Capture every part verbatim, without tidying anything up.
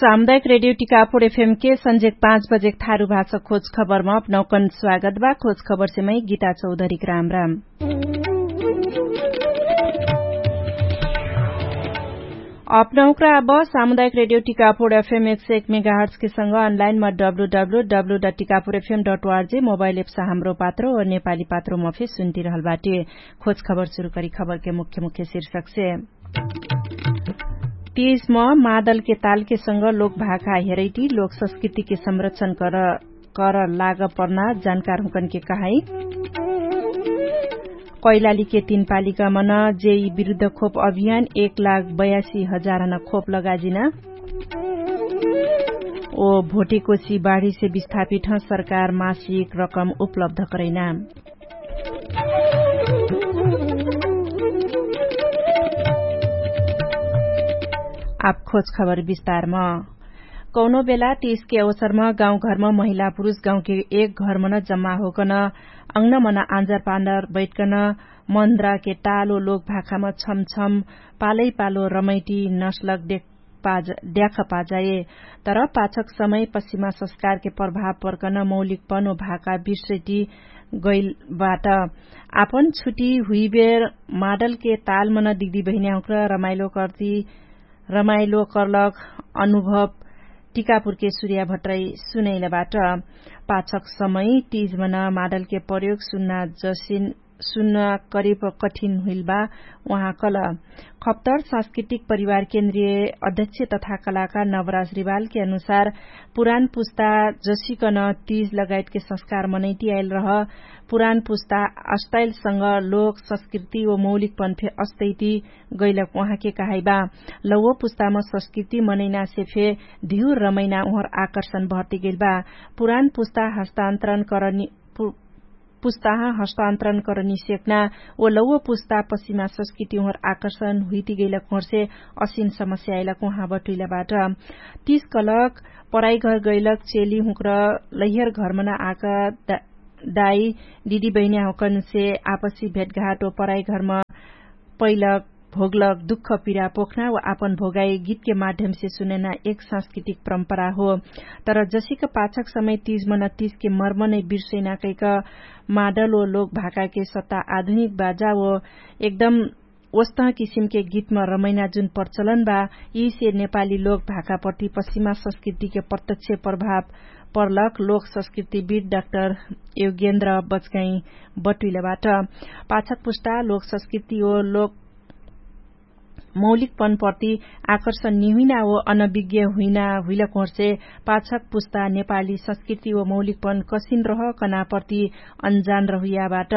सामुदायिक रेडियो टिकापुर एफएम के सन्जेक पाँच बजेक थारु भाषा खोज खबरमा अपनौकन स्वागत बा। खोज खबरसे मै गीता चौधरीक राम राम। अपनौकरा अब सामुदायिक रेडियो टिकापुर एफएम एक सय एक मेगाहर्ट्सके सँग अनलाइनमा W W W dot Tikapur एफएम डट ओआरजे मोबाइल एप्स हाम्रो पात्रो नेपाली पात्रोमा फे सुन्तिरहल बाटे। खोज खबर सुरु करी खबरके मुख्य मुख्य शीर्षकसे। तीसम मादलके तालके सँग लोक भाखा हेरैटी लोक संस्कृतिके संरक्षण कर कर लाग पर्ना जानकार हुँकनके कहाई। कैलालीके तीन पालिकामन जेई विरुद्ध खोप अभियान एक लाख बयासी हजारहन खोप लगाजिना। ओ भोटेकोसी बाढीसे विस्थापित हँ सरकार मासिक रकम उपलब्ध करैना। आप खोज खबर विस्तारम। कौनो बेला तीसके अवसरम गाउँघरम महिला पुरुष गाउँके एक घरमन जम्मा होकन अंगनमन आन्जर पान्डर बैठकन मन्द्राके तालो लोक भाखाम छमछम पालैपालो रमैटी नस्लक देख पाज ड्याख पाजाए। तर पाछक समय पश्चिमा संस्कारके प्रभाव पर्कन मौलिकपन ओ भाका बिर्सैटी गैलबाट आपन छुटी हुइबेर माडलके तालमन दिदी बहिन्याहुँक्र रमाइलो कर्ती रमाइलो कर्लक अनुभव टिकापुरके सुर्या भट्टै सुनैलबाट। पाछक समय तीजमन माडलके प्रयोग सुन्ना जसिन सुन्ना करिब कठिन हुइलबा। उहाँ कल खप्तर सांस्कृतिक परिवार केन्द्रिय अध्यक्ष तथा कलाकार नवराज रिवालके अनुसार पुरान पुस्ता जसिकन तीज लगायतके संस्कार मनैटी आइल रह पुरान पुस्ता अस्तैलसँग लोक संस्कृति ओ मौलिकपन फे अस्तैति गैलक उहाँके कहाइबा। लौवो पुस्ताम संस्कृति मनैनासे फे धिउर रमैना उहर आकर्षण भर्ति गैलबा। पुरान पुस्ता हस्तान्तरण करनी पुस्ताह हस्तान्तरण करनी सेक्ना ओ लौवो पुस्ता पश्चिमा संस्कृति उहर आकर्षण हुइति गैलक उहरसे असिन समस्या आइलक उहाँ बटुइलाबाट। तीस कलक पराइघर गैलक चेली हुँक्र लैहर घरमन आक दाई दिदी बहिन्याहुँकनसे आपसी भेटघाट ओ पराइघरम पैलक भोगलक दुख पिरा पोख्ना वा आपन भोगाई गीतके माध्यमसे सुनैना एक सांस्कृतिक परम्परा हो। तर जसिक पाछक समय तीजमन तीजके मर्मनै बिर्सैना कैक माडल ओ लोक भाकाके सत्ता आधुनिक बाजा ओ एकदम ओस्तह किसिमके गीतम रमैना जुन प्रचलन बा यिसे नेपाली लोक भाकाप्रति पश्चिमा संस्कृतिके प्रत्यक्ष प्रभाव पर्लक लोक संस्कृतिविद डाक्टर योगेन्द्र बचगाई बटुइलाबाट। पाछक पुस्ता लोक संस्कृति ओ लोक मौलिकपन प्रति आकर्षण निहुइना ओ अनविज्ञ हुइना हुइलक होर्से पाछक पुस्ता नेपाली संस्कृति ओ मौलिकपन कसिन रह कनाप्रति अनजान रहुइयाबाट।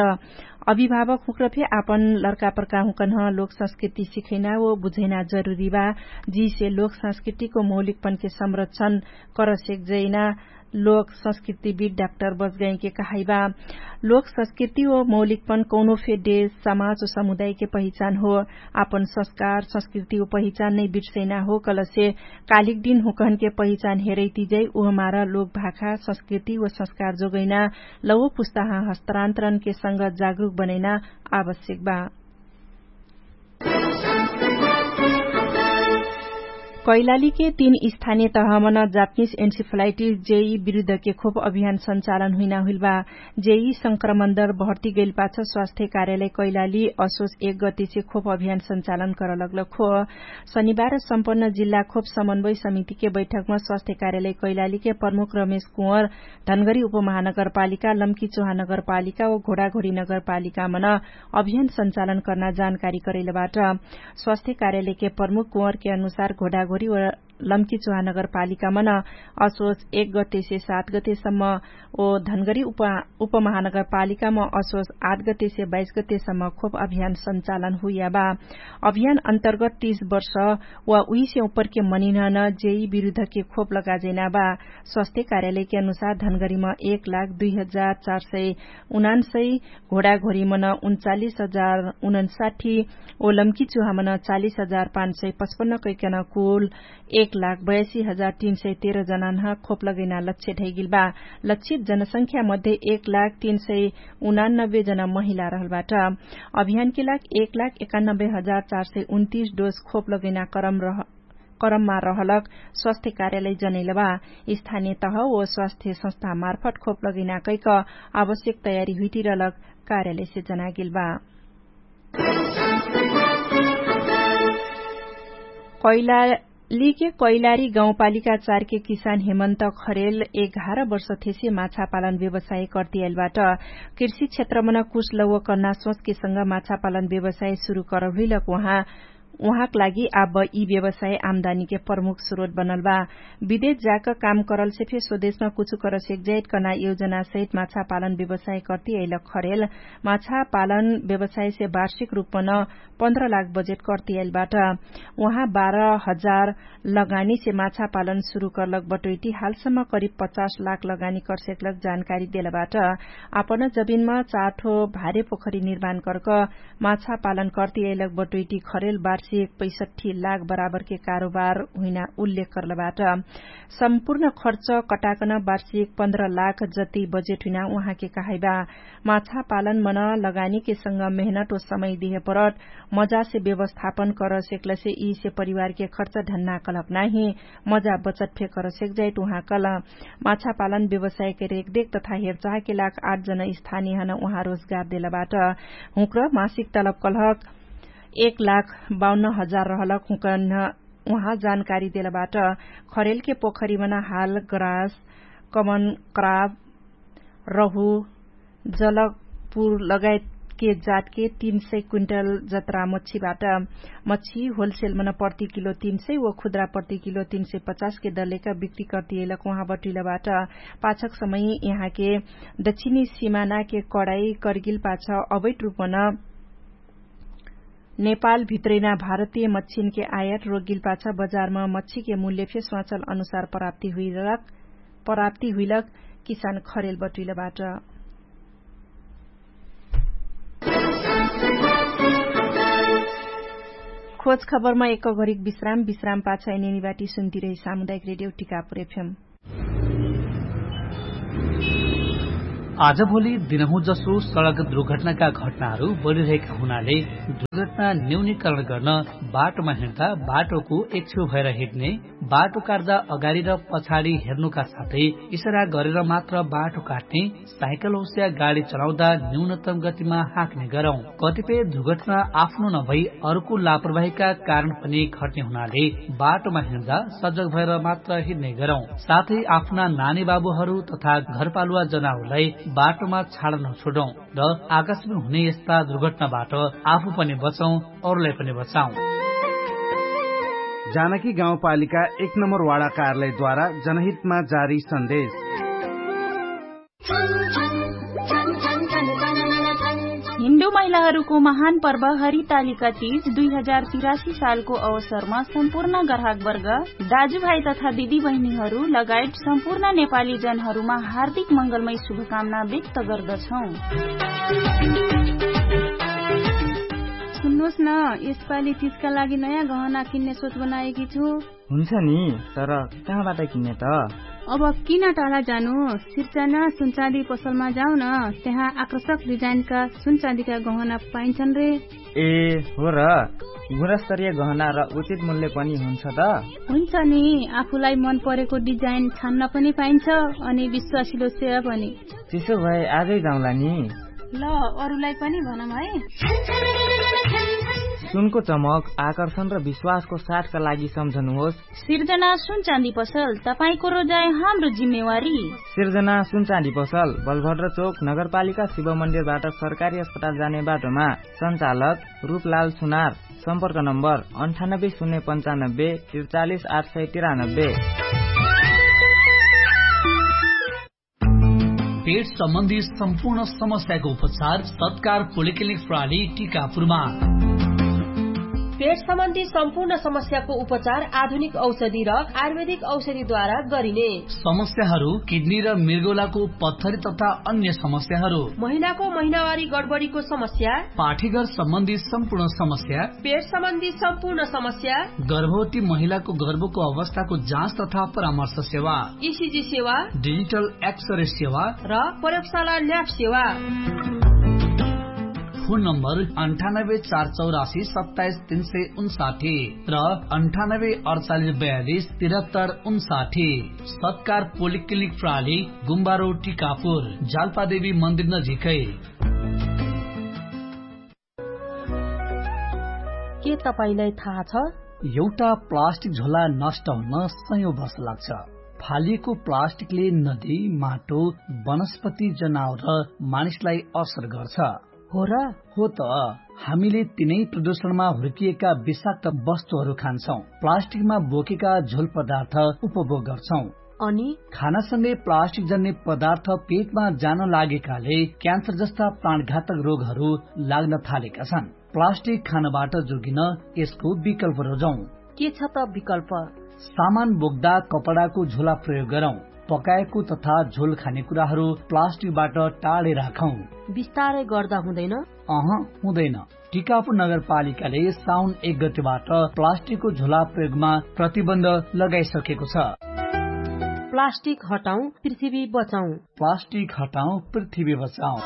अभिभावक हुँक्र फे आपन लर्कापर्का हुँकन्ह लोक संस्कृति सिखैना ओ बुझैना जरुरी बा। जिसे लोक संस्कृतिको मौलिकपनके संरक्षण करसेक जैना लोक संस्कृतिविद डाक्टर बजगाइँके कहाइबा। लोक संस्कृति ओ मौलिकपन कौनो फे देश समाज ओ समुदायके पहिचान हो। आपन संस्कार संस्कृति ओ पहिचान नै बिर्सैना हो कलसे कालिक दिन हुँकहनके पहिचान हेरैतिजै उहमार लोक भाखा संस्कृति ओ संस्कार जोगैना लौवो पुस्ताह हस्तान्तरणके संग जागरुक बनैना आवश्यक बा। कैलालीके तीन स्थानिय तहमन जापनिस एन्सिफलाइटिस जेई विरुद्धके खोप अभियान सञ्चालन हुइना हुइलबा। जेई संक्रमण दर भर्ती गैलपाछ स्वास्थ्य कार्यालय कैलाली असोस एक गतिसे खोप अभियान सञ्चालन करलग्लक हो। शनिबार सम्पन्न जिल्ला खोप समन्वय समितिके बैठकमा स्वास्थ्य कार्यालय कैलालीके प्रमुख रमेश कुँवर धनगरी उपमहानगरपालिका लम्की चोहा नगरपालिका ओ घोडाघोडी नगरपालिकामन अभियान सञ्चालन कर्ना जानकारी करैलबाट। स्वास्थ्य कार्यालयके प्रमुख कुँवरके अनुसार घोडाघोडी ओ लम्की चोहा नगरपालिकामन असोच एक गतेसे सात गतेसम्म ओ धनगरी उपमहानगरपालिकाम असोच आठ गतेसे बाइस गतेसम्म खोप अभियान सञ्चालन हुइयाबा। अभियान अन्तर्गत तीस वर्ष वा उहिसे उपरके मनिनहन जेई विरुद्धके खोप लगाजैनाबा। स्वास्थ्य कार्यालयके अनुसार धनगरीम एक लाख दुई हजार चार सय उनान्सय घोडाघोरीमन उन्चालिस हजार उनन्साठी ओ लम्की चुहामन चालिस हजार पाँच सय पचपन्न कैकन कुल एक लाख बयासी हजार तीन सय तेह्र जनान्ह खोप लगैना लक्ष्य ढैगिलबा। लक्षित जनसंख्या मध्ये एक लाख तीन सय उनान्नब्बे जना महिला रहलबाट। अभियानके लाग एक लाख एकान्नब्बे हजार चार सय उन्तिस डोज खोप लगैना करम रह करममा रहलक स्वास्थ्य कार्यालय जनैलबा। स्थानीय तह ओ स्वास्थ्य संस्था मार्फट खोप लगैना कैक आवश्यक तयारी हुइटिरलक कार्यालयसे जनागेलबा। कैलालीके कैलारी गाउँपालिका चारके किसान हेमन्त खरेल एघार वर्ष थेसे माछापालन व्यवसाय कर्तियाइलबाट। कृषि क्षेत्रमन कुछ लौव कर्ना सोचके संग माछापालन व्यवसाय सुरु करहुइलक उहाँ उहाँक लागि आब यि व्यवसाय आम्दानीके प्रमुख स्रोत बनल बा। विदेश जाक काम करलसे फे स्वदेशमा कुछु करसेक जाइत कर्ना योजना सहित माछापालन व्यवसाय कर्तियाइलक खरेल माछापालन व्यवसायसे वार्षिक रूपमन पन्ध्र लाख बजेट कर्तियाइलबाट। उहाँ बाह्र हजार लगानीसे माछापालन सुरु कर्लक बटोइटी हालसम्म करिब पचास लाख लगानी कर्सेक्लक जानकारी देलबाट। आपन जबिनमा चाठो भारे पोखरी निर्माण कर्क माछापालन कर्तियाइलक बटोइटी खरेल वार्षिक पैसठ्ठी लाख बराबरके कारोबार हुइना उल्लेख कर्लबाट। सम्पूर्ण खर्च कटाकन वार्षिक पन्ध्र लाख जति बजेट हुइना उहाँके कहाइबा। माछापालन मन लगानीके संग मेहनत ओ समय दिहे परत मजासे व्यवस्थापन करसेक्लसे यिसे परिवारके खर्च ढन्ना कलक नाही मजा बचत फे करसेक जाइत उहाँ कल। माछापालन व्यवसायके रेखदेख तथा हेरचाहके लाख आठ जन स्थानीय हन उहाँ रोजगार देलबाट। हुँक्र मासिक तलब कलहक एक लाख बाउन्न हजार रहलक हुँकन उहाँ जानकारी देलबाट। खरेलके पोखरीमन हाल ग्रास कमन क्राब रहु जलकपुर लगायतके जातके तीन सय क्विन्टल जत्रा मच्छीबाट मच्छी होलसेलमन प्रति किलो तीन सय व खुद्रा प्रति किलो तीन सय पचासके दलेका बिक्री कर्तियैलक उहाँ बटुइलबाट। पाछक समय यहाँके दक्षिणी सिमानाके कडाई कर्गिल पाछ अवैत रूपमन नेपाल भित्रैना भारतीय मच्छिनके आयाट रोगिल पाछ बजारमा मच्छिके मूल्य फे स्वाचल अनुसार प्राप्ति हुइलक किसान खरेल बटुइलबाट। खोज खबरमा एक घरिक विश्राम विश्राम पाछ एनेनिबाटी सुन्तिरही सामुदायिक रेडियो टिकापुर एफएम। आजभोलि दिनहुँ जसो सडक दुर्घटनाका घटनाहरू बढिरहेका हुनाले दुर्घटना न्यूनीकरण गर्न बाटोमा हिँड्दा बाटोको एक छेउ भएर हिँड्ने, बाटो काट्दा अगाडि र पछाडि हेर्नुका साथै इसरा गरेर मात्र बाटो काट्ने, साइकल होस्या गाडी चलाउँदा न्यूनतम गतिमा हाँक्ने गरौँ। कतिपय दुर्घटना आफ्नो नभई अर्को लापरवाहीका कारण पनि घट्ने हुनाले बाटोमा हिँड्दा सजग भएर मात्र हिँड्ने गरौँ। साथै आफ्ना नानी बाबुहरू तथा घरपालुवा जनाउरलाई बाटोमा छाड नछोडौँ र आकाशमा हुने यस्ता दुर्घटनाबाट आफू पनि बचौँ, अरूलाई पनि बचाउँ। जानकी गाउँपालिका एक नम्बर वाडा कार्यालयद्वारा जनहितमा जारी सन्देश। हिन्दू महिलाहरूको महान पर्व हरितालिका तीज दुई हजार तिरासी सालको अवसरमा सम्पूर्ण ग्राहकवर्ग, दाजुभाइ तथा दिदीबहिनीहरू लगायत सम्पूर्ण नेपाली जनहरूमा हार्दिक मङ्गलमय शुभकामना व्यक्त गर्दछौँ। सुन्नुहोस् न, यसपालि तीजका लागि नयाँ गहना किन्ने सोच बनाएकी छु। हुन्छ नि, तर कहाँबाट किन्ने त? अब किन टाढा जानु? सिर्जना सुनचाँदी पसलमा जाऊ न, त्यहाँ आकर्षक डिजाइनका सुनचाँदीका गहना पाइन्छन् रे। ए, हो र? गुणस्तरीय गहना र उचित मूल्य पनि हुन्छ त? हुन्छ नि, आफूलाई मन परेको डिजाइन छान्न पनि पाइन्छ, अनि विश्वासिलो सेवा पनि। त्यसो भए आजै जाउँला नि। ल, अरूलाई पनि भनौँ है। सुनको चमक, आकर्षण र विश्वासको साथका लागि सम्झनुहोस्। सिर्जना सुनचाँदी पसल, तपाईंको रोजाइ हाम्रो जिम्मेवारी। सिर्जना सुनचाँदी पसल, बलभद्र चोक, नगरपालिका शिव मन्दिरबाट सरकारी अस्पताल जाने बाटोमा। सञ्चालक रूपलाल सुनार। सम्पर्क नम्बर अन्ठानब्बे शून्य पन्चानब्बे त्रिचालिस आठ सय तिरानब्बे। पेट सम्बन्धी सम्पूर्ण समस्याको उपचार सत्कार पोलिक्लिनिक प्रणाली टिकापुरमा। पेट सम्बन्धी सम्पूर्ण समस्याको उपचार आधुनिक औषधि र आयुर्वेदिक औषधिद्वारा गरिने। समस्याहरू किडनी र मृगौलाको पत्थरी तथा अन्य समस्याहरू। महिनाको महिनावारी गडबडीको समस्या। पाठीघर सम्बन्धी सम्पूर्ण समस्या। पेट सम्बन्धी सम्पूर्ण समस्या। गर्भवती महिलाको गर्भको अवस्थाको जाँच तथा परामर्श सेवा। इसिजी सेवा। डिजिटल एक्सरे सेवा। र प्रयोगशाला ल्याब सेवा। फोन नम्बर अन्ठानब्बे चार चौरासी सत्ताइस तीन सय उन्साठी र अन्ठानब्बे अडचालिस बयालिस तिरहत्तर उन्साठी। सत्कार पोलिक्लिनिक प्राली गुम्बारो टिकापुर जाल्पादेवी मन्दिर नजिकै। के तपाईंलाई थाहा छ? एउटा प्लास्टिक झोला नष्ट हुन सयौं वर्ष लाग्छ। फालिएको प्लास्टिकले नदी, माटो, वनस्पति, जनावर र मानिसलाई असर गर्छ। हो र? हो त। हामीले तिनै प्रदूषणमा हुर्किएका विषाक्त वस्तुहरू खान्छौं, प्लास्टिकमा बोकेका झोल पदार्थ उपभोग गर्छौं। अनि? खानासँगै प्लास्टिक जन्ने पदार्थ पेटमा जान लागेकाले क्यान्सर जस्ता प्राणघातक रोगहरू लाग्न थालेका छन्। प्लास्टिक खानबाट जोगिन यसको विकल्प रोजौं। के छ त विकल्प? सामान बोक्दा कपडाको झोला प्रयोग गरौं। पकाएको तथा झोल खाने कुराहरू प्लास्टिकबाट टाढे राखौं। बिस्तारै गर्दा हुँदैन? अह, हुँदैन। टिकापुर नगरपालिकाले साउन एक गतिबाट प्लास्टिकको झोला प्रयोगमा प्रतिबन्ध लगाइसकेको छ। प्लास्टिक हटाउँ, पृथ्वी बचाउँ। प्लास्टिक हटाउँ, पृथ्वी बचाउँ।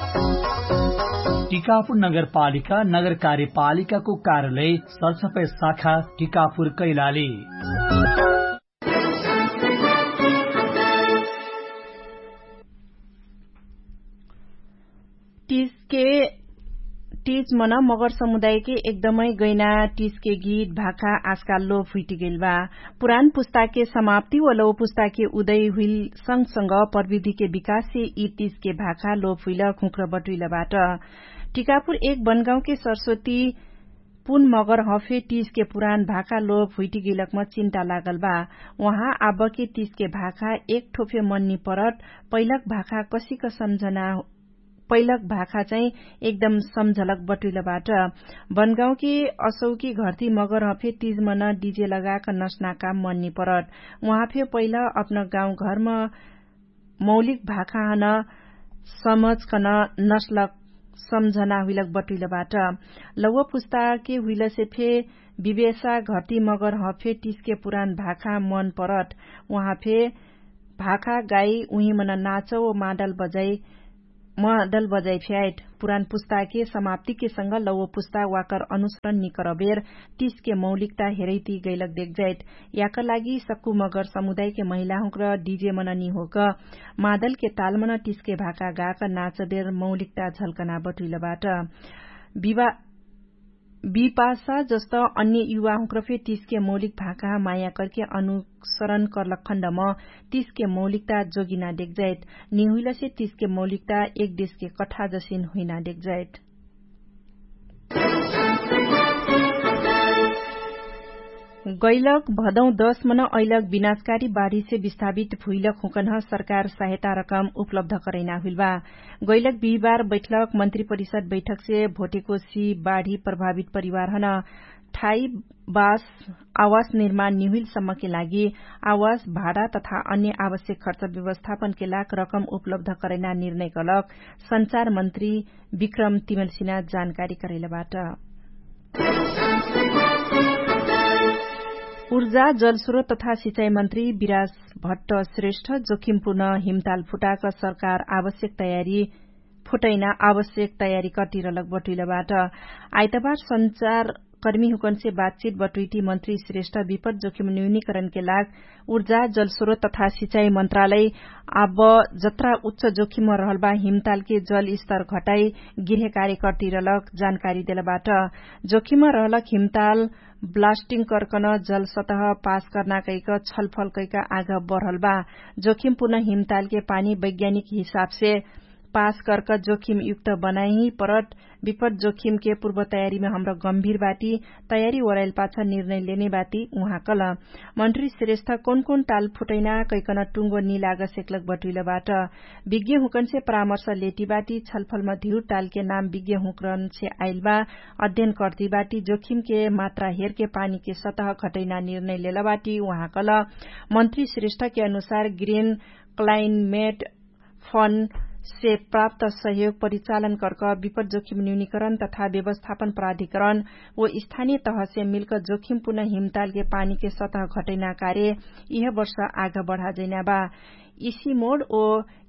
टिकापुर नगरपालिका नगर कार्यपालिकाको कार्यालय सरसफाई शाखा टिकापुर कैलाली। टिजके टिज मन मगर समुदायके एकदमै गैना टिजके गीत भाखा आजकाल लोप हुइटिगेल बा। पुरान पुस्ताके समाप्ति व लौ पुस्ताके उदय हुइल सँगसँग प्रविधिके विकाससे यि टिजके भाखा लोप हुइल खुँक्र बटुइल बाट। टिकापुर एक बनगाउँके सरस्वती पुन मगर हफे टिजके पुरान भाखा लोप हुइटिगेलकम चिन्ता लागल बा। उहाँ आबके टिजके भाखा एक ठोफे मन्नी परत पैलक भाखा कसिक सम्झना पैलक भाखा चाहिँ एकदम सम्झलक बटुइलबाट। बनगाउँके असौकी घरती मगर हफे टिज मन डिजे लगाक नस्नाका मन्नी परत। उहाँ फे पैल अपन गाउँघरम मौलिक भाखा हन समझकन नस्लक सम्झना हुइलक बटुइलबाट। लौव पुस्ताके हुइलसे फे विवेशा घरती मगर हफे टिजके पुरान भाखा मन परत। उहाँ फे भाखा गाई उहिमन नाचौ मादल बजाइ मादल बजाइ फ्याइट। पुरान पुस्ताके समाप्तिके संग लौव पुस्ता वाकर अनुसरण निकरबेर टिजके मौलिकता हेरैति गैलक देखजाइट। याकर लागि सक्कु मगर समुदायके महिलाहुँक्र डिजे मन निहोक मादलके तालमन टिजके भाका गाक नाचबेर मौलिकता झल्कना बटुइलबाट। बिपासा जस्त अन्य युवाहुँक्र फे टिजके मौलिक भाका माया करके अनुसरण करलक खण्डम टिजके मौलिकता जोगिना देखजाइट। निहुइलसे टिजके मौलिकता एक देशके कठा जसिन हुइना देखजाइट। गैलक भदौ दश मन अइलक विनाशकारी बाढीसे विस्थापित भुइलक हुँकन्ह सरकार सहायता रकम उपलब्ध करैना हुइल बा। गैलक बिहिबार बैठलक मन्त्री परिषद बैठकसे भोटेको सी बाढी प्रभावित परिवारहन ठाई बास आवास निर्माण निहुइल सम्मके लागि आवास भाडा तथा अन्य आवश्यक खर्च व्यवस्थापनके लाग रकम उपलब्ध करैना निर्णय कलक सञ्चार मन्त्री विक्रम तिमलसिना जानकारी करैलबाट। उर्जा जलस्रोत तथा सिचाइ मन्त्री विराज भट्ट श्रेष्ठ जोखिमपुर्ण हिमताल फुटाक सरकार आवश्यक तयारी फुटैना आवश्यक तयारी कटिरलक बटुइलबाट। आइतबार सञ्चार कर्मी हुकन्से बातचित बटुइटी मन्त्री श्रेष्ठ विपत जोखिम न्यूनीकरणके लाग उर्जा जलस्रोत तथा सिचाइ मन्त्रालय आब जत्रा उच्च जोखिम रहलबा हिमतालके जलस्तर घटाइ गिर्हे कार्यकर्तिरलक जानकारी देलबाट। जोखिम रहलक हिमताल ब्लास्टिङ कर्कन जलसतह पास कर्ना कैक छलफल कैक आग बढलबा। जोखिम पुनः हिमतालके पानी वैज्ञानिक हिसाबसे पास कर्क जोखिमयुक्त बनाइही परट विपट जोखिमके पुर्व तयारीमे हमरा गम्भिर बाटी। तयारी ओराइल पाछ निर्णय लेने बाटी उहाँ कल। मन्त्री श्रेष्ठ कौन कौन टाल फुटैना कैकन टुङ्गो निलाग सेक्लक बटुइलबाट। विज्ञहुँकन्से परामर्श लेटी बाटी छलफलमा धिउर टालके नाम विज्ञहुँकरन्से आइलबा। अध्ययन कर्ती बाटी जोखिमके मात्रा हेरके पानीके सतह घटैना निर्णय लेलबाटी उहाँ कल। मन्त्री श्रेष्ठके अनुसार ग्रेन क्लाइनमेट फन्डसे प्राप्त सहयोग परिचालन कर्क विपट जोखिम न्यूनीकरण तथा व्यवस्थापन प्राधिकरण ओ स्थानीय तहसे मिल्क जोखिम पुनः हिमतालके पानीके सतह घटैना कार्य इह वर्ष आग बढाजैना बा। इसी मोड ओ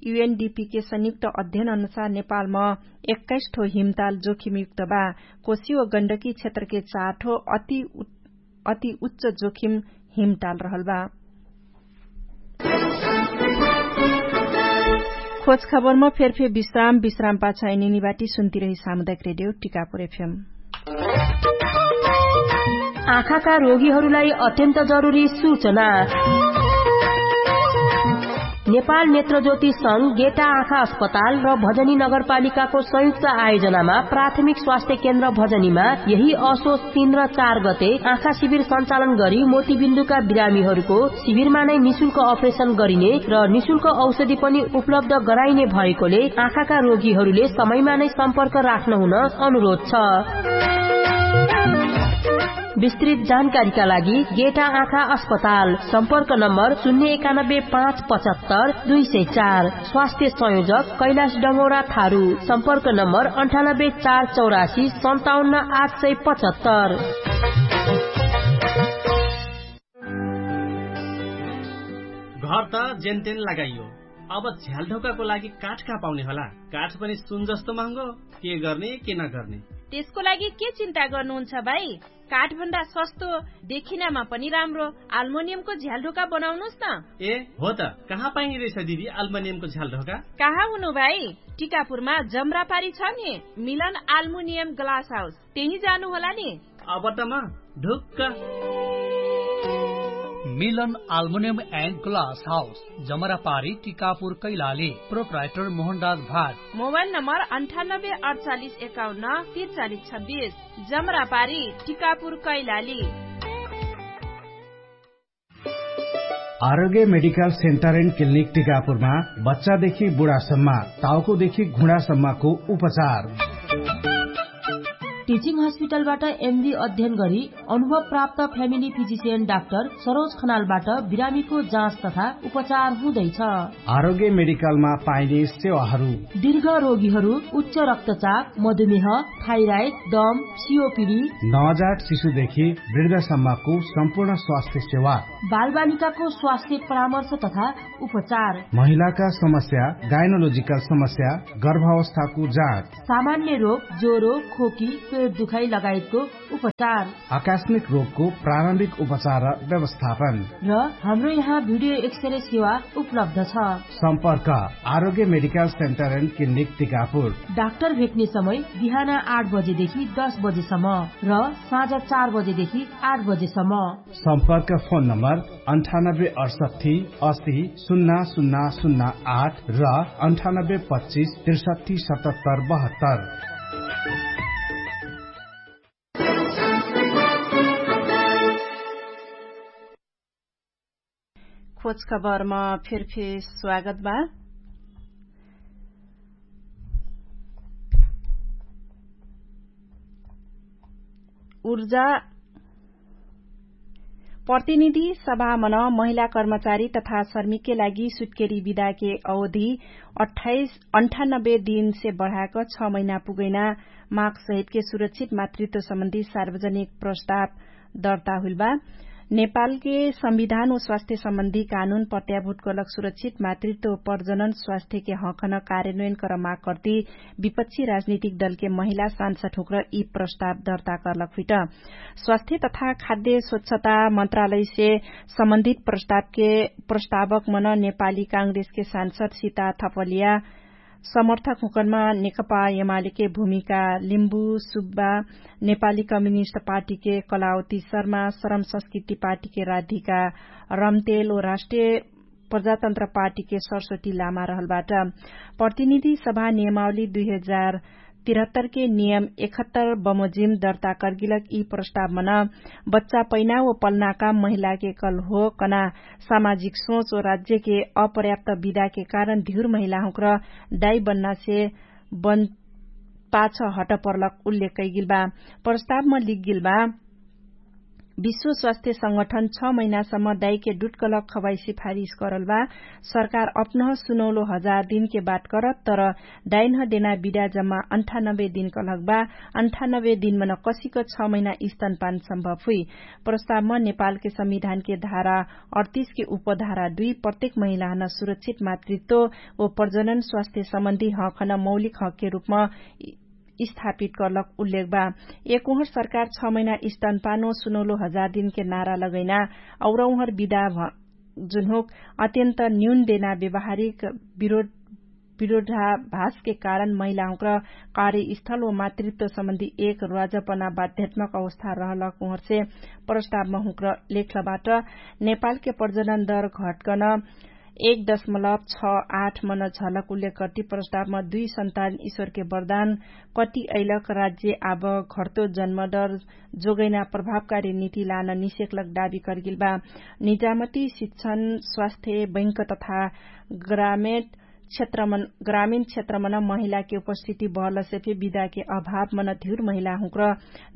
युएनडिपीके संयुक्त अध्ययन अनुसार नेपालमा एक्काइस ठो हिमताल जोखिमयुक्त बा। कोशी ओ गण्डकी क्षेत्रके चार ठो अति उच्च जोखिम हिमताल रहल बा। खोज खबरमा फेरफे विश्राम विश्राम पाछा एनिनिबाटी सुन्तिरही सामुदायिक रेडियो टिकापुर एफएम। आँखाका रोगीहरूलाई अत्यन्त जरुरी सूचना। नेपाल नेत्रज्योति संघ गेटा आँखा अस्पताल र भजनी नगरपालिकाको संयुक्त आयोजनामा प्राथमिक स्वास्थ्य केन्द्र भजनीमा यही असोच तीन र चार गते आँखा शिविर सञ्चालन गरी मोतीबिन्दुका बिरामीहरूको शिविरमा नै निशुल्क अपरेसन गरिने र निशुल्क औषधि पनि उपलब्ध गराइने भएकोले आँखाका रोगीहरूले समयमा नै सम्पर्क राख्न हुन अनुरोध छ। विस्तृत जानकारीका लागि गेटा आँखा अस्पताल, सम्पर्क नम्बर शून्य एकानब्बे पाँच पचहत्तर दुई सय चार। स्वास्थ्य संयोजक कैलाश डङ्गौरा थारू, सम्पर्क नम्बर अन्ठानब्बे चार चौरासी सन्ताउन्न आठ सय पचहत्तर। घर त जेनतेन लगाइयो, अब झ्यालढोकाको लागि काठ कहाँ पाउने होला? काठ पनि सुन जस्तो महँगो। के गर्ने के नगर्ने? त्यसको लागि के चिन्ता गर्नुहुन्छ भाइ? काठभन्दा सस्तो, देखिनामा पनि राम्रो आल्मोनियमको झ्यालढोका बनाउनुस् न। ए हो त, कहाँ पाइने रहेछ दिदी आल्मोनियमको झ्यालढोका? कहाँ हुनु भाइ? टिकापुरमा जमरापारी छ नि, मिलन आल्मुनियम ग्लास हाउस, त्यही जानु होला नि। अब त म ढुक्क। मिलन आल्मुनियम एन्ड ग्लास हाउस, जमरापारी टिकापुर कैलाली। प्रोप्राइटर मोहनराज भाट। मोबाइल नम्बर अन्ठानब्बे अडचालिस एकाउन्न तिरचालिस छब्बिस। जमरापारी टिकापुर कैलाली। आरोग्य मेडिकल सेन्टर एन्ड क्लिनिक टिकापुरमा बच्चादेखि बुढासम्म, टाउकोदेखि घुँडासम्मको उपचार। टिचिङ हस्पिटलबाट एमडी अध्ययन गरी अनुभव प्राप्त फ्यामिली फिजिसियन डाक्टर सरोज खनालबाट बिरामीको जाँच तथा उपचार हुँदैछ। आरोग्य मेडिकलमा पाइने सेवाहरू। दीर्घ रोगीहरू, उच्च रक्तचाप, मधुमेह, थाइराइड, दम, सिओपिडी। नवजात शिशुदेखि वृद्धसम्मको सम्पूर्ण स्वास्थ्य सेवा। बालबालिकाको स्वास्थ्य परामर्श तथा उपचार। महिलाका समस्या, गाइनोलोजिकल समस्या, गर्भावस्थाको जाँच। सामान्य रोग, ज्वरो, खोकी, पेट दुखाइ लगायतको उपचार। आकस्मिक रोगको प्रारम्भिक उपचार र व्यवस्थापन। र हाम्रो यहाँ भिडियो एक्सरे सेवा उपलब्ध छ। सम्पर्क Arogya medical centre and clinic Tikapur. Doctor भेट्ने समय बिहान आठ बजेदेखि दस बजेसम्म र साँझ चार बजेदेखि आठ बजेसम्म। सम्पर्क फोन नम्बर अन्ठानब्बे अडसट्ठी असी सुन्ना सुन्ना सुन्ना आठ र अन्ठानब्बे पच्चिस त्रिसट्ठी सतहत्तर बहत्तर। खोज खबरमा फेरफेर स्वागत बा। ऊर्जा प्रतिनिधि सभामन महिला कर्मचारी तथा श्रमिकके लागि सुत्केरी विदाके अवधि अट्ठाइस अन्ठानब्बे दिनसे बढाक छ महिना पुगैना माग सहितके सुरक्षित मातृत्व सम्बन्धी सार्वजनिक प्रस्ताव दर्ता हुइल बा। नेपालके संविधान व स्वास्थ्य सम्बन्धी कानुन प्रत्याभूत कलक सुरक्षित मातृत्व प्रजनन स्वास्थ्यके हकन कार्यन्वयन कर माग कर्ती विपक्षी राजनीतिक दलके महिला सांसद हुक्र यि प्रस्ताव दर्ता कर्लक हुइट। स्वास्थ्य तथा खाद्य स्वच्छता मन्त्रालयसे सम्बन्धित प्रस्तावके प्रस्तावक मन नेपाली काङ्ग्रेसके सांसद सिता थपलिया, समर्थक हुकनमा नेकपा यमालिके भूमिका लिम्बु सुब्बा, नेपाली कम्युनिस्ट पार्टीके कलावती शर्मा, श्रम संस्कृति पार्टीके राधिका रम्तेल ओ राष्ट्रिय प्रजातन्त्र पार्टीके सरस्वती लामा रहलबाट। प्रतिनिधि सभा नियमावली दुई हजार तिरहत्तरके नियम एकहत्तर बमोजिम दर्ता कर्गिलक यि प्रस्तावमन बच्चा पैना ओ पलनाका महिलाके कल हो कना सामाजिक सोच ओ राज्यके अपर्याप्त विदाके कारण धिउर महिलाहुँक्र दाइ बन्नासे बन पाछ हटपर्लक उल्लेख कैगिल बा। प्रस्तावम लिग्गिल बा। विश्व स्वास्थ्य संगठन छ महिनासम्म दाइके डुटकलक खवाई सिफारिस करल बा। सरकार अपनह सुनौलो हजार दिनके बात करत तर दाइन्ह देना बिदा जम्मा अन्ठानब्बे दिन कलक बा। अन्ठानब्बे दिनमन कसिक छ महिना स्तनपान सम्भव हुइ। प्रस्तावम नेपालके संविधानके धारा अडतिसके उपधारा दुइ प्रत्येक महिलाहन सुरक्षित मातृत्व ओ प्रजनन स्वास्थ्य सम्बन्धी हकहन मौलिक हकके रूपम स्थापित करलक उल्लेख बा। एक उहर सरकार छ महिना स्तनपानो सुनौलो हजार दिनके नारा लगैना और उहर बिदा जुनहुक अत्यन्त न्यून देना व्यवहारिक विरोधाभासके कारण महिलाहुँक्र कार्यस्थल व मातृत्व सम्बन्धी एक राजपना बाध्यात्मक अवस्था रहलक उहरसे प्रस्तावम हुँक्र लेख्लबाट नेपालके प्रजनन दर घटकन एक दशमलव छ आठ मन झलक उल्लेख कर्ति प्रस्तावम दुइ सन्तान ईश्वरके वरदान कति अइलक राज्य आब घट्तो जन्मदर जोगैना प्रभावकारी नीति लान निषेकलक दावी करगेल बा। निजामती शिक्षण स्वास्थ्य बैंक तथा ग्रामीण क्षेत्रमन महिलाके उपस्थिति बहलसे फे विदाके अभावमन धिउर महिलाहुँक्र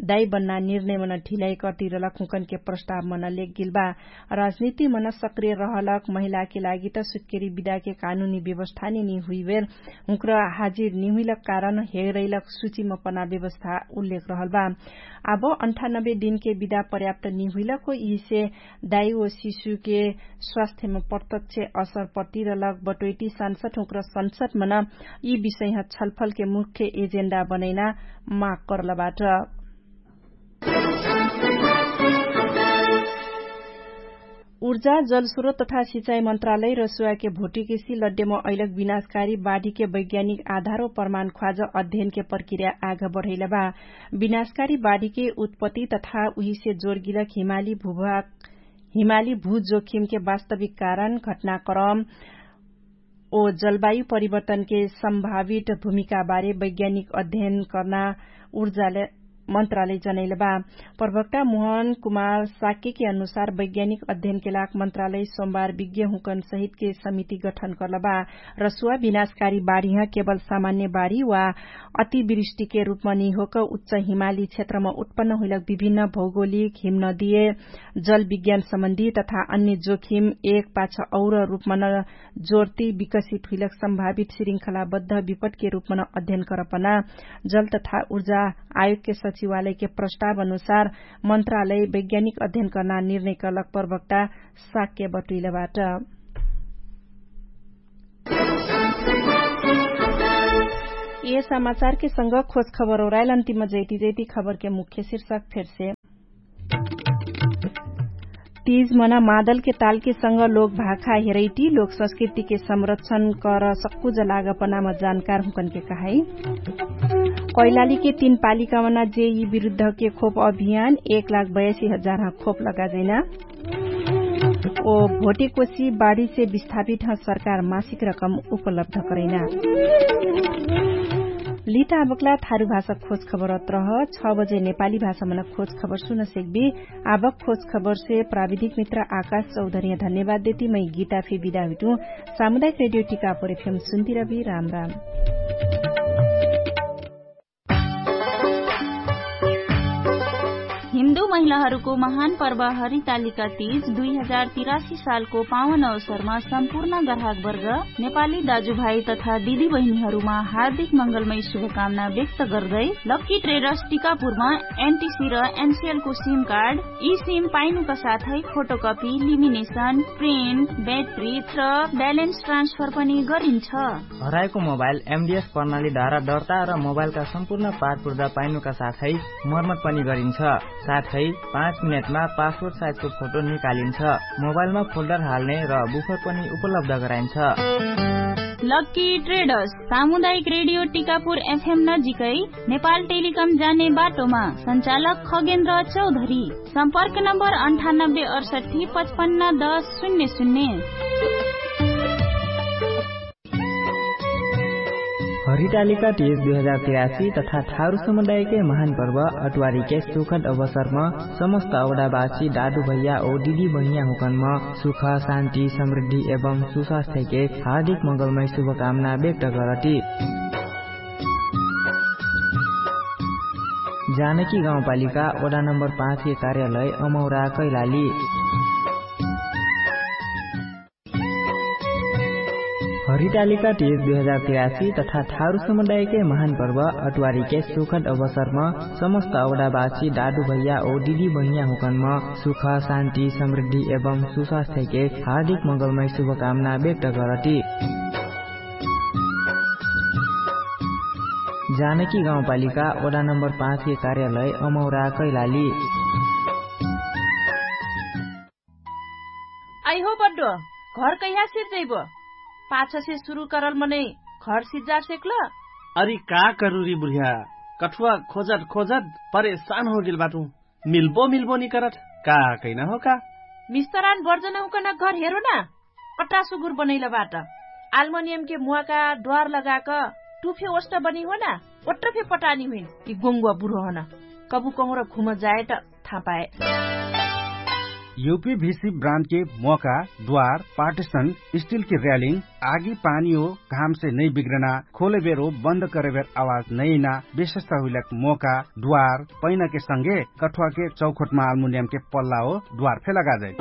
दाइ बन्ना निर्णयमन ढिलाइ कर्तिरलक हुँकनके प्रस्तावमन लेखगेल बा। राजनीतिमन सक्रिय रहलक महिलाके लागि त सुत्केरी विदाके कानुनी व्यवस्थाने निहुइबेर हुँक्र हाजिर निहुइलक कारण हेरैलक सुचिम पना व्यवस्था उल्लेख रहल बा। आब अन्ठानब्बे दिनके विदा पर्याप्त निहुइलक हो यिसे दाइ ओ शिशुके स्वास्थ्यम प्रत्यक्ष असर पर्तिरलक बटोइटी संसद हुँक्र संसदमन यि विषयह छलफलके मुख्य एजेन्डा बनैना माग करलबाट। ऊर्जा जलस्रोत तथा सिचाइ मन्त्रालय रसुवाके भोटिकेसी लड्डेम अइलक विनाशकारी बाढीके वैज्ञानिक आधार ओ प्रमाण ख्वाज अध्ययनके प्रक्रिया आघ बढैलबा। विनाशकारी बाढीके उत्पत्ति तथा उहिसे जोरगिलक हिमाली भूभाग हिमाली भूजोखिमके वास्तविक कारण घटनाक्रम ओ जलवायु परिवर्तनके सम्भावित भूमिकाबारे वैज्ञानिक अध्ययन कर्ना ऊर्जाले मन्त्रालय जनैलबा। प्रवक्ता मोहन कुमार साक्यके अनुसार वैज्ञानिक अध्ययनके लाग मन्त्रालय सोमबार विज्ञहुँकन सहितके समिति गठन कर्लबा। रसुवा विनाशकारी बाढीह केवल सामान्य बाढी वा अतिवृष्टिके रूपमा निहोक उच्च हिमाली क्षेत्रमा उत्पन्न हुइलक विभिन्न भौगोलिक हिमनदिय जलविज्ञान सम्बन्धी तथा अन्य जोखिम एक पाछ और रूपमा न जोर्ती विकसित हुइलक सम्भावित श्रृंखलाबद्ध विपटके रूपमा न अध्ययन करपना जल तथा ऊर्जा आयोगके सचिवालयके प्रस्ताव अनुसार मन्त्रालय वैज्ञानिक अध्ययन कर्ना निर्णय कर्लक प्रवक्ता साक्य बटुइलबाट। ए समाचारके संग खोज खबर ओराइल अन्तिम जैती जैती खबरके मुख्य शीर्षक फेरसे। तीज मना मादलके तालके संग लोक भाखा हेरैटी लोक संस्कृतिके संरक्षण कर सक्कु जलाग पनाम जानकार हुँकनके कहाई। कैलालीके तीन पालिका मना जे यि विरुद्धके खोप अभियान एक लाख बयासी हजार ह खोप लगाजैना। ओ भोटेकोसी बाढीसे विस्थापित ह सरकार मासिक रकम उपलब्ध करैना। लिता अबकला थारु भाषा खोज खबर अत्रह छ बजे नेपाली भाषा मना खोज खबर सुन सेक्बी। आबक खोज खबरसे प्राविधिक मित्र आकाश चौधरिया धन्यवाद देती मै गीता फे बिदा हुइटु। सामुदायिक रेडियो टिकापुर एफएम सुन्तिरबी राम राम। हिन्दू महिलाहरूको महान पर्व हरितालिका तीज दुई हजार तिरासी सालको पावन अवसरमा सम्पूर्ण ग्राहकवर्ग नेपाली दाजुभाइ तथा दिदीबहिनीहरूमा हार्दिक मङ्गलमय शुभकामना व्यक्त गर्दै लक्की ट्रेडर्स टिकापुरमा एनटिसी र एनसिएलको सिम कार्ड यी सिम पाइनुका साथै फोटोकपी लिमिनेसन प्रिन्ट ब्याट्री र ब्यालेन्स ट्रान्सफर पनि गरिन्छ। हराएको मोबाइल एमडिएस प्रणालीद्वारा दर्ता र मोबाइलका सम्पूर्ण पारपुर्दा पाइनुका साथै मर्मत पनि गरिन्छ। साथै पाँच मिनेटमा पासपोर्ट साइजको फोटो निकालिन्छ। मोबाइलमा फोल्डर हाल्ने र बुफर पनि उपलब्ध गराइन्छ। लक्की ट्रेडर्स सामुदायिक रेडियो टिकापुर एफएम नजिकै नेपाल टेलिकम जाने बाटोमा। सञ्चालक खगेन्द्र चौधरी। सम्पर्क नम्बर अन्ठानब्बे अडसट्ठी पचपन्न दस शून्य शून्य। हरितालिका तीज दुई हजार तिरासी तथा थारु समुदायकै महान पर्व अटुवारीके सुखद अवसरम समस्त अवडाबासी दादु भैया ओ दिदी बहिनिया हुकनम सुख शान्ति समृद्धि एवं सुस्वास्थ्यके हार्दिक मङ्गलमय शुभकामना व्यक्त करती। जानकी गाउँपालिका वडा नम्बर पाँचके कार्यालय अमौरा कैलाली। हरितालिका टिएस दुई हजार तिरासी तथा थारु समुदायके महान पर्व अटुवारीके सुखद अवसरम समस्त अवडाबासी दादु भैया औ दिदी बहिनिया हुकनम सुख, शान्ति, समृद्धि एवं सुस्वास्थ्यके हार्दिक मङ्गलमय शुभकामना व्यक्त करती। जानकी गाउँपालिका वडा नम्बर पाँचके कार्यालय अमौरा कैलाली। आइहो बड्डो, घर कैहा सिर्जैबो? पाछसे सुरु करल मनै घर सिज्जा सेक्ल? अरि का करुरी बुढिया, कठुवा खोजत खोजत परेशान होगेल बाटु। मिल्बो मिल्बो निकरत, का कैना हो का? मिस्तरान बर्जनहुकन घर हेरो ना। अट्टा सुगुर बनैल बाट। आल्मनियमके मुवाका द्वार लगाक टुफे ओष्ट बनी हो ना। ओट्ट फे पटानी हुइन कि गोङ्गुवा बुढो हन। कबु कहुँर घुम जाए त थापाए। युपी भिसी ब्रान्डके मोका, द्वार, पार्टिसन, स्टिलके र्यालिङ, आगी पानी हो घामसे नै बिग्रना, खोलेबेर हो बन्द करेबेर आवाज नैना, विशेषता हुइलक मोका, द्वार, पैनाके संगे कठुवाके चौखोटमा आल्मुनियमके पल्ला हो द्वार फे लगाजै।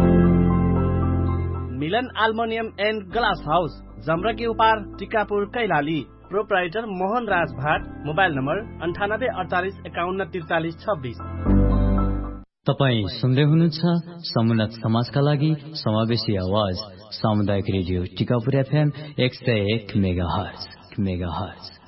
मिलन आल्मोनियम एन्ड ग्लास हाउस, जम्रकी उपार, टिकापुर कैलाली। प्रोप्राइटर मोहन राज भाट। मोबाइल नम्बर अन्ठानब्बे अडचालिस एकाउन्न त्रिचालिस छब्बिस। तपाईँ सुन्दै हुनुहुन्छ समुन्नत समाजका लागि समावेशी आवाज, सामुदायिक रेडियो टिकापुर एफएम एक सय एक मेगाहर्ज। मेगाहर्ज।